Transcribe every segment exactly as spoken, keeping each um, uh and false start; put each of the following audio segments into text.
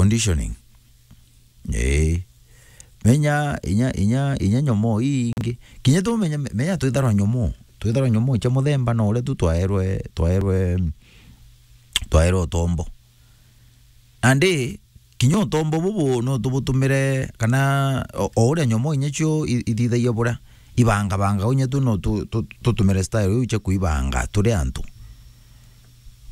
conditioning. Ee. Menya, inya, inya, inya nyomoo ii ingi. Kinya tu menya, menya twitharwa nyomoo. Twitharwa nyomoo cia muthemba no uria tu twaerwe, twaerwe, twaerwe utombo. Nandi, kinya utombo bubu no tubutumire, kana o, o uria nyomoo inya cio i-, ithithagia buria, ibangabanga, inya tu no tu, tu, tutumire style iu cia kuibanga turi antu.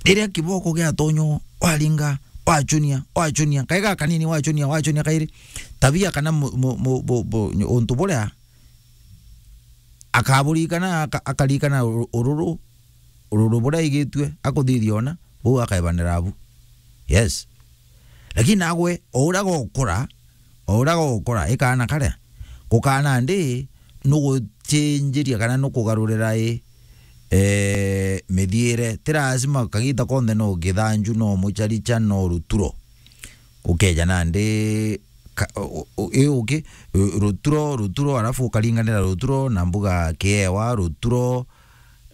Riria kiboko giatonyo, waringa, wachunia, wachunia, kai gakanini wachunia, wachunia kairi, tabia kana mu-, mu-, mu-, bu-, bu-, untu buria akaburikana, aka-, akarikana uru-, ururu, ururu buria aigitue, akuthithia ona, buu akaebanira abu. Yes. Lakini nagwe, o uria gokura, o uria gokura, ikaana karia, gukaana ndi, nuguchinjiria kana nukugarurira i, eh, mithiire. Ti lazima kagita konthe no githanju, no mucharicha, no ruturo. Ukeja nandi ka-, u-, u-, i uki, ru-, ruturo, ruturo, alafu ukaringanira ruturo na mbuga kiewa, ruturo,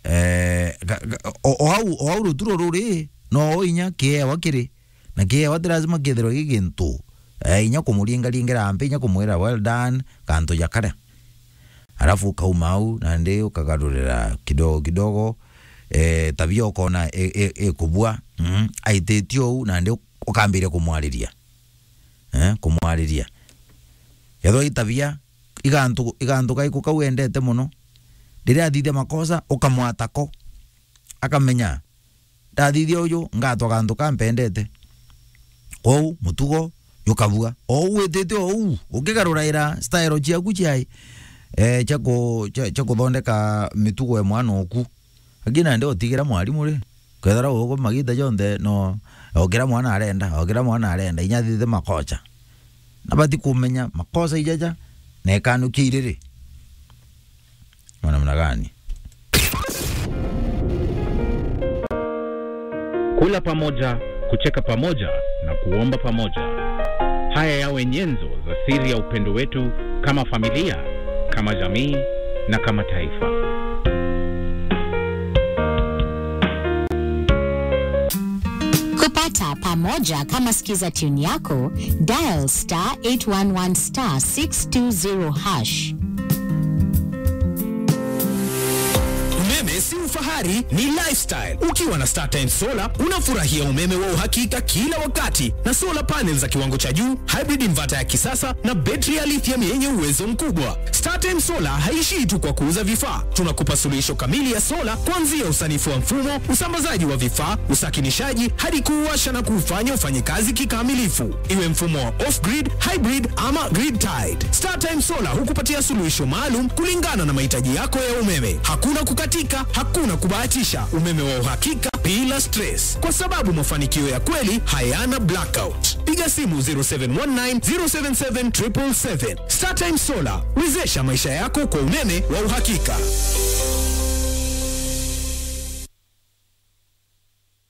eh, ga-, ga-, o, o au, o au ruturo ruri, no inya kiewa kiri. Na kiewa ti lazima kithirwe gi gintu, eh, inya kumuringaringira mpi, inya kumwira, "Well done," kantu ja karia. Alafu ukauma au, nandi ukagarurira kidogo kidogo, eh, tabia ukona i-, i-, ikubua, mm, aititie uu, nandi uk-, ukambiria kumwariria. Eh, kumwariria. Kethirwa i tabia, igantu, igantu kaiku kau endete mono, riria athithia makosa, ukamwatako. Akamenya, ndathithia uju, ngatwa gantu kampendete. Kwou, mutugo jukabua. O uu witite o uu, ukigaruraira style ciaku ciai, eh, cia ku-, cia, cia kuthondeka mitugo ya mwana oku. Lakini nandi utigira mwarimu ri, kethira ugu magita jonthe no, o kira mwana arenda, o kira mwana arenda, inya athithite makosa. Na bati kumenya makosa ijaja, na ikanukia iriri. Kwa namna gani? Kula pamoja, kucheka pamoja na kuomba pamoja. Haya yawe nyenzo za siri ya upendo wetu kama familia, kama jamii na kama taifa. Kupata pamoja kama Skiza tune yako, dial star eight one one star six two zero hash. Umeme si ufahari, ni lifestyle. Ukiwa na StarTimes Solar, unafurahia umeme wa uhakika kila wakati na solar panels za kiwango cha juu, hybrid inverter ya kisasa na betri ya lithium yenye uwezo mkubwa. StarTimes Solar haishii tu kwa kuuza vifaa. Tunakupa suluhisho kamili ya sola, kuanzia usanifu wa mfumo, usambazaji wa vifaa, usakinishaji, hadi kuuwasha na kuufanya ufanye kazi kikamilifu. Iwe mfumo wa off-grid, hybrid ama grid-tied, StarTimes Solar hukupatia suluhisho maalum kulingana na mahitaji yako ya umeme. Hakuna kukatika, hakuna kubahatisha. Umeme wa uhakika bila stress, kwa sababu mafanikio ya kweli hayana blackout. Piga simu zero seven one nine, zero seven seven, triple seven. StarTimes Solar, wezesha maisha yako kwa umeme wa uhakika.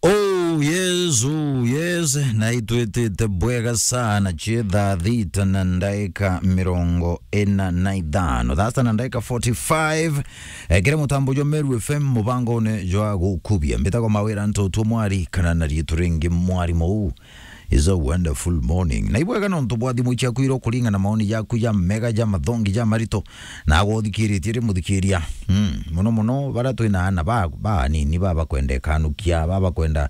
Oh, yes, oh, yes. Na itwitite bwega sana, cie thaa thita na ndaika mirongo ina na ithano. Thaa sita na ndaika forty-five. Eh, kiri mutambo jwa Meru F M, mubangone jwa gukubia. Mbitagwa Mawira Ntoto Mwari, kana na riitwa ringi Mwari Mou. Is a wonderful morning. Na ibwega nontu bwa thimu ciaku iro kuringa na maoni jaku ja mega, ja mathongi, ja marito. Na agwa uthikiritie ri muthikiria. Mm, muno muno bara twina ana ba, ba nini ba bakwenda ikanukia, ba bakwenda,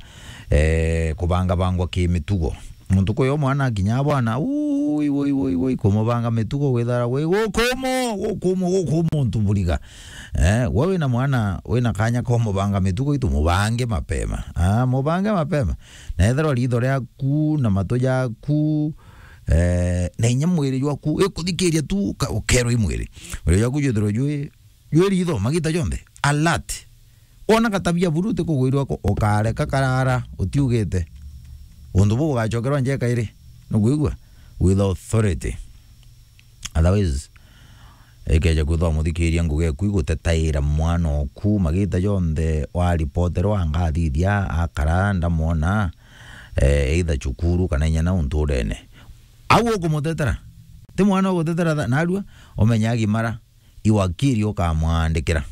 eh, kubanga bangwa ki mitugo. Muntu kuyo mwana akinya bwana, ui, ui, ui, ui, kumubanga mitugo gwithara gwi gukumu, gukumu, gukumu muntu buriga. Eh, we wina mwana, wina kanya ko mubanga mitugo itu, mubange mapema. Ah, mubange mapema. Na ethirwa ritho riaku na matu jaku, eh, na inya mwiri jwaku, ikuthikiria tu, uka-, ukerwa i mwiri. Mwiri jwaku jwithirwe jwi, jwi ritho, magita jonthe. Alert. Wona gatabia buru utikugwirwa ko, ukareka karara, utiugite. Untu buu bugacokerwa njeka iri. Nukwigua? With authority. Otherwise, ikeja kwithwa muthikiria ngugi eku igutetaira mwana oku, magita jonthe waripoterwa, ngathithia, akara, ndamwona, eh, either cukuru kana inya na unturene. Au ukumutetera. Ti mwana ugutetera tha-, narua, umenya agimara, i wakiri ukamwandikira.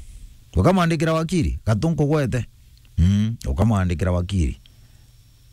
Ukamwandikira wakiri, gatu nkugwete. Mm, ukamwandikira wakiri.